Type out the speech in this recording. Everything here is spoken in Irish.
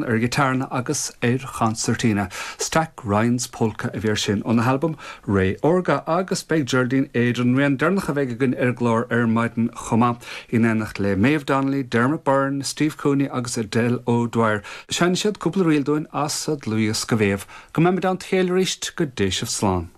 Ar ghiotár agus ar chonsairtín. Stack Ryan's Polka a bhí air sin óna halbam Ré Órga agus beidh Geraldine Aidan, an rian deireanach a bheidh againn ar an gclár ar maidin chomh maith, in éineacht le Maeve Donnelly, Dermot Byrne, Steve Cooney agus Edel O'Dwyer. Seinnfidh siad cúpla ríl dúinn as a dlúthdhiosca Mhéabh. Go mbeimid i dteannta a chéile arís, go dté sibh slán.